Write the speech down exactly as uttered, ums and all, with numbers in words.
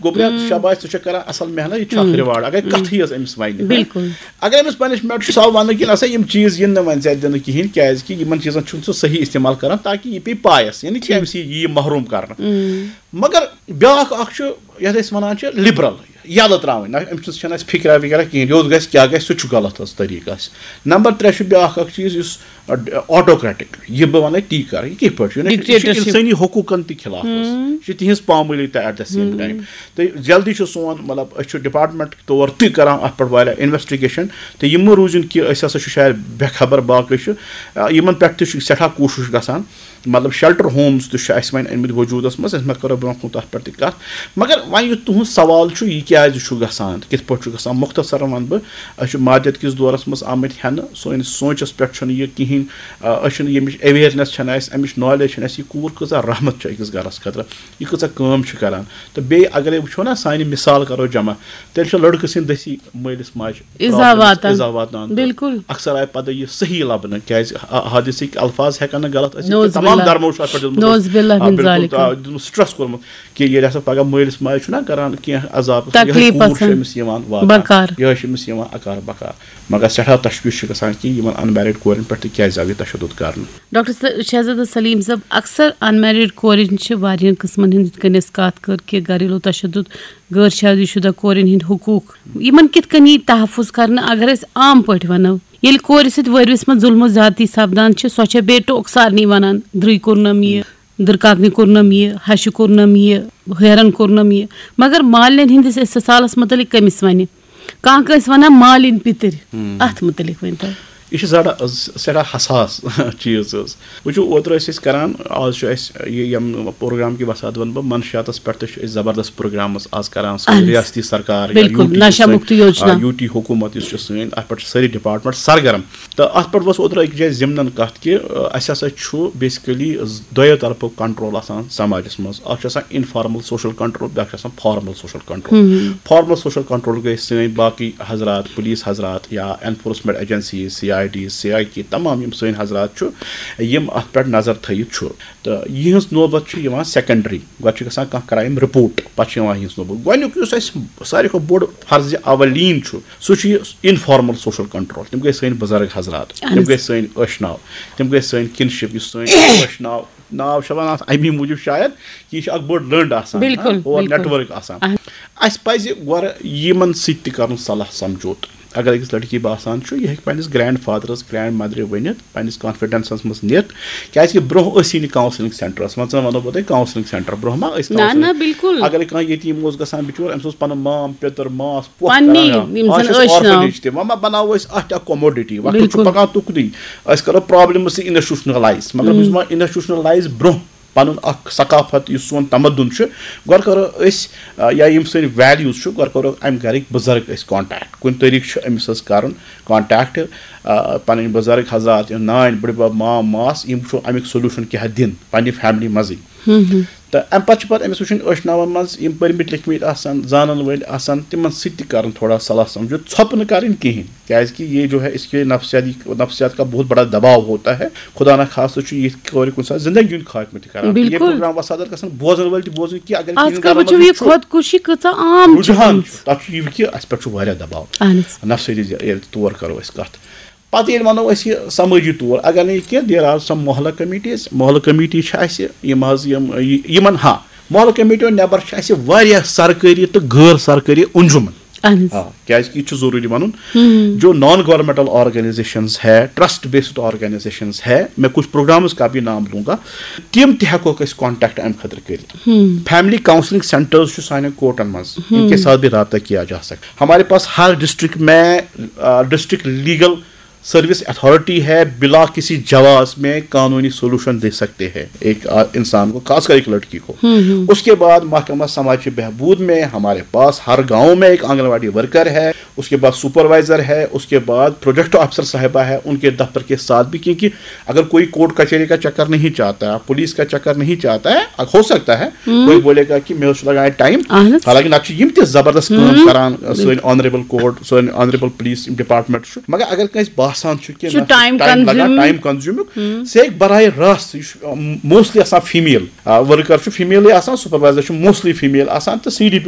گوٚبریا، شاباش، ژٕ چھکھ کران اصل محنت، یہِ چھُ اکھ ریوارڈ اگر کتھٕے یٲژ أمِس ونہِ۔ بِلکُل۔ اگر أمِس پنشمنٹ چھُ، سُہ آو وننہٕ کہِ نسا یِم چیٖز یِن نہٕ وۄنۍ ژےٚ دِنہٕ کِہینۍ، کیازِ کہِ یِمن چیٖزن چھُنہٕ ژٕ صحیح استعمال کران، تاکہِ یہِ پیٚیہِ پایس، یعنی کہِ أمِس یی یہِ محروم کرنہٕ۔ مگر بیاکھ اکھ چھُ، یتھ أسۍ ونان چھِ لبرل، یلہٕ تراوٕنۍ نہ، أمِس چھُنہٕ، چھَنہٕ اَسہِ فکرا وکرا کِہینۍ، یوٚت گژھِ کیٛاہ گژھِ، سُہ چھُ غلط حظ طریٖقہٕ اَسہِ۔ نمبر ترٛےٚ چھُ بیاکھ اکھ چیٖز، یُس آٹوکریٹک، یہِ بہٕ وَنَے تی کَرٕ، یہِ کِتھ پٲٹھۍ چھُ؟ یہِ چھُ، یہِ چھُ اِنسٲنی حقوٗقَن تہِ خلاف حظ۔ یہِ چھُ تِہِنٛز پامٲلی تہِ ایٹ دَ سیم ٹایم۔ تہٕ جلدی چھُ سون، مطلب، أسۍ چھِ ڈپارٹمنٹ طور تہِ کَران اَتھ پٮ۪ٹھ واریاہ انویسٹِگیشن۔ تہٕ یہِ مہٕ روٗزِن کہِ أسۍ ہسا چھِ شاید بے خبر، باقٕے چھُ، آ، یِمن پٮ۪ٹھ تہِ چھُ سٮ۪ٹھاہ کوٗشِش گژھان۔ مطلب، شیلٹر ہومز تہِ چھِ اَسہِ وۄنۍ أنمٕتۍ وجوٗدَس منٛز، أسۍ ما کَرو برونٛہہ کُن تَتھ پٮ۪ٹھ تہِ کَتھ۔ مگر وۄنۍ یُس تُہُنٛد سوال چھُ، یہِ کیٛازِ چھُ گژھان تہٕ کِتھ پٲٹھۍ چھُ گژھان، مختصرن وَنہٕ بہٕ، أسۍ چھِ مادیت کِس دورس منٛز آمٕتۍ ہٮ۪نہٕ، سٲنِس سونٛچس پٮ۪ٹھ چھُنہٕ یہِ کِہینۍ، آ، أسۍ چھِنہٕ ییٚمِچ اویرنیس چھَنہٕ اَسہِ، اَمِچ نالیج چھَنہٕ اَسہِ، یہِ کوٗر کۭژاہ رحمت چھِ أکِس گرس خٲطرٕ، یہِ کۭژاہ کٲم چھِ کران۔ تہٕ بیٚیہِ اگرے وٕچھو نا، سانہِ مثال کرو جمع، تیٚلہِ چھُ لڑکہٕ سٕنٛدۍ دٔسی مٲلِس ماجہِ ایٖزا problems، واتان۔ ایٖزا واتناوان۔ بِلکُل۔ اکثر آیہِ پتہٕ یہِ صحیح لبنہٕ، کیازِ حا-، حادثٕکۍ الفاظ ہٮ۪کن نہٕ غلط ٲسِتھ، نعوذ تمام باللہ۔ دھرمو چھُ اَتھ پٮ۪ٹھ دیُتمُت، نعوذ باللہ آ، من بِلکُل، ذالِک۔ آ، دیُتمُت سٹریس کوٚرمُت۔ کہِ ییٚلہِ ہسا پگاہ مٲلِس ماجہِ چھُنہ کران کینٛہہ عذاب، یِہوٚے تکلیٖف کوٗر چھِ آسان۔ أمِس یِوان واتان، بکار۔ یِہوٚے چھِ أمِس یِوان اکار بکار۔ مگر سٮ۪ٹھاہ تشویش چھِ گژھان کہِ یِمن انمیرڈ کورٮ۪ن پٮ۪ٹھ تہِ کیٛازِ آو یہِ تشدد کرنہٕ۔ ڈاکٹر س-، شہزادہ سلیم صٲب، اکثر انمیرڈ کورِ چھِ واریاہن قٕسمن ہٕنٛدۍ، یِتھ کٔنۍ أسۍ کتھ کٔر کہِ گھریلو تشدد، غٲر شادی شدہ کورٮ۪ن ہٕنٛدۍ حقوٗق، یِمن کِتھ کٔنۍ یی تحفظ کرنہٕ؟ اگر أسۍ عام پٲٹھۍ ونو، ییٚلہِ کورِ سۭتۍ وٲرۍوِس منٛز ظلم و زیادتی سپدان چھِ، سۄ چھےٚ بیٚیہِ ٹوکہٕ سارنٕے ونان، درٕے کوٚرنم یہِ، دٕرکاکنہِ کوٚرنم یہِ، ہشہِ کوٚرنم یہِ، ہیرن کوٚرنم یہِ۔ مگر مالِنٮ۪ن ہٕنٛدِس استحصالس متعلق کٔمِس ونہِ؟ کانٛہہ کٲنٛسہِ ونان مالِنۍ پِتٕرۍ، ہُم۔ اتھ متعلق ؤنۍ تو۔ یہِ چھُ زڑا-، سٮ۪ٹھاہ حساس چیٖز حظ۔ وٕچھِو، اوترٕ ٲسۍ أسۍ کران، آز چھُ اَسہِ یہِ یِم پروگرام کہِ وساد وَنہٕ بہٕ، منشیاتس پٮ۪ٹھ تہِ چھِ أسۍ زبردست پروگرامز آز کران، سٲنۍ اہن حظ۔ ریاستی سرکار یا بِلکُل، یوٗ ٹی نشہ چھِ سٲنۍ، مُکتی یوجنا۔ آ، یوٗ ٹی حکوٗمت یُس چھُ سٲنۍ، اَتھ پٮ۪ٹھ چھِ سٲری ڈپارٹمنٹ سرگرم۔ تہٕ اَتھ پٮ۪ٹھ ؤژھ اوترٕ أکِس جایہِ ضِمنن کَتھ کہِ، آ، اَسہِ ہسا چھُ بیسکلی دۄیو طرفو کنٹرول آسان سماجس منٛز۔ اَکھ چھُ آسان انفارمل سوشل کنٹرول، بیٛاکھ چھُ آسان formal social control. Formal social control گٔے سٲنۍ باقٕے حضرات، پولیس حضرات یا enforcement agencies, C I D, C I K, تمام یِم سٲنۍ حضرات چھُ، یِم اَتھ پٮ۪ٹھ نظر تھٲیِتھ چھُ۔ تہٕ یِہٕنٛز نوبت چھِ یِوان سیکنڈری۔ گۄڈٕ چھِ گژھان کانٛہہ کرائم رپورٹ، پتہٕ چھِ یِوان یِہٕنٛز نوبت۔ گۄڈٕنیُک یُس اَسہِ ساروی کھۄتہٕ بوٚڑ فرض اولین چھُ، سُہ چھُ یہِ انفارمل سوشل کنٹرول۔ تِم گٔے سٲنۍ بُزرگ حضرات، اہن تِم حظ۔ گٔے سٲنۍ ٲشناو، تِم گٔے سٲنۍ کِنشِپ، یُس سٲنۍ ٲشناو، ناو چھِ وَنان اَتھ اَمی موٗجوٗب شاید کہِ یہِ چھِ اکھ بٔڑ لٔنٛڈ آسان، بِلکُل، ہاں، اور بِلکُل۔ نیٹؤرک آسان۔ اہن۔ اَسہِ پَزِ گۄڈٕ یِمن سۭتۍ تہِ کَرُن صلاح سَمجھوتہٕ۔ اگر أکِس لڑکی باسان چھُ، یہِ ہیٚکہِ پننِس گرینڈ فادرس، گرینڈ مدرِ ؤنِتھ، پننِس کانفیڈنسس منٛز نِتھ، کیازِ کہِ برونٛہہ ٲسی نہٕ کاونسلنگ سینٹرس منٛز، ژٕ وَنو بہٕ تۄہہِ، کاونسلنگ سینٹر برونٛہہ ما ٲسۍ نہ، counselling؟ نہ، بِلکُل۔ اگر کانٛہہ یتیٖم اوس گژھان بِچور، أمِس اوس پنُن مام، پیٚتٕر، ماس، پۄپھ پننی کران۔ یِم آز زن چھِ أسۍ ٲشناو۔ Orphanage تہِ، وۄنۍ ما بناوو أسۍ اتھ اکھ کوموڈٹی، وۄنۍ چھُ بِلکُل۔ پکان تُکنُے۔ أسۍ کرو پرابلمس تہِ انسٹیٹیوشنلایز، مطلب، یُس ما انسٹیٹیوشنلایز برونٛہہ پنُن اکھ ثقافت، یُس سون تمدُن چھُ، گۄڈٕ کرو أسۍ، آ، یا یِم سٲنۍ ویلیوز چھُ، گۄڈٕ کرو امہِ گرٕکۍ بُزرگ أسۍ کانٹیکٹ۔ کُنہِ طریٖقہٕ چھُ أمِس حظ کرُن کانٹیکٹ، آ، پنٕنۍ بُزرگ حضرات، یِم نانۍ، بٕڈبب، مام، ماس، یِم چھُ امیُک سولوشن کیٛاہ دِن پننہِ فیملی منٛزٕے۔ تہٕ امہِ پتہٕ چھِ پتہٕ أمِس وٕچھُن ٲشناون منٛز یِم پٔرمٕتۍ لیکھمٕتۍ آسن، زانن وٲلۍ آسن، تِمن سۭتۍ تہِ کرُن تھوڑا صلاح سمجھو، ژھۄپہٕ نہٕ کرٕنۍ کِہینۍ۔ کیازِ کہِ یہِ جو ہے، اس کے نفسیاتی، نفسیات کا بہت بڑا دباؤ ہوتا ہے۔ خدا نہ خاصہ چھُ یِتھ کورِ کُنہِ ساتہٕ زندگی ہُنٛد خاتمہٕ تہِ کران۔ تہٕ یہِ بِلکُل۔ پروگرام وسادت گژھن بوزن وٲلۍ تہِ بوزٕنۍ کہِ اگر آز کِہیٖنۍ کل گرن وٕچھِو منٛز یہِ چھُ، خۄدکُشی کۭژاہ عام چھِ رُجحان گٔمٕژ۔ چھُ، تَتھ چھُ یہِ کہِ اَسہِ پٮ۪ٹھ چھُ واریاہ دباؤ۔ اہن حظ۔ نفسیٲتی زِ-، ییٚلہِ تور کرو أسۍ کتھ۔ پتہٕ ییٚلہِ ونو أسۍ یہِ سمٲجی طور، اگر نہٕ یہِ کینٛہہ، there are some محلہ committees، محلہ کمیٹی چھِ اَسہِ، یِم حظ یِم، یہِ-، یِمن، ہاں، محلہ کمیٹیو نٮ۪بر چھِ اَسہِ واریاہ سرکٲری تہٕ غٲر سرکٲری انجمن۔ اہن حظ۔ آ، کیازِ کہِ یہِ چھُ ضروٗری وَنُن، ہم۔ جو نان گورنمنٹل آرگنائزیشنز ہے، ٹرسٹ بیسڈ آرگنائزیشنز ہے، میں کچھ پروگرامز کا بھی نام لوں گا، تِم تہِ ہٮ۪کوکھ أسۍ کانٹیکٹ اَمہِ خٲطرٕ کٔرِتھ۔ ہم۔ فیملی کاؤنسلنگ سینٹرز چھُ سانٮ۪ن کورٹن منٛز، ان کے ہم۔ ساتھ بھی رابطہ کیا جا سکتا ہے۔ ہمارے پاس ہر ڈسٹرکٹ میں، آ، ڈسٹرکٹ لیگل سروس اتھارٹی ہے، بلا کسی جواز میں قانونی سولوشن دے سکتے ہیں ایک، آ، انسان کو، خاص کر ایک لڑکی کو۔ ہم، ہم۔ اس کے بعد محکمہ سماجی بہبود میں ہمارے پاس ہر گاؤں میں ایک آنگن واڑی ورکر ہے، اس کے بعد سپروائزر ہے، اس کے بعد پروجیکٹ آفیسر صاحبہ ہے، ان کے دفتر کے ساتھ بھی، کیونکہ اگر کوئی کورٹ کچہری کا چکر نہیں چاہتا، پولیس کا چکر نہیں چاہتا ہے، ہو سکتا ہے ہم۔ کوئی بولے گا کہ مےٚ اوس لگان ٹائم۔ اہن حظ۔ حالانکہ نتہٕ چھِ یِم تہِ زبردست کٲم ہم۔ کران، سٲنۍ آنریبل کورٹ، سٲنۍ آنریبل پولیس ڈپارٹمنٹ چھُ۔ مگر اگر کٲنٛسہِ باسہِ آسان چھُ کینٛہہ چھُ نہ چھُ time ٹایم لگان consuming۔ ٹایم کنزیوٗمُک سُہ ہیٚکہِ براہ راست یہِ چھُ موسٹلی آسان فیٖمیل ؤرکر چھُ فیٖمیلٕے آسان سُپروایزر چھُ موسٹلی فیٖمیل آسان تہٕ سی ڈی پی او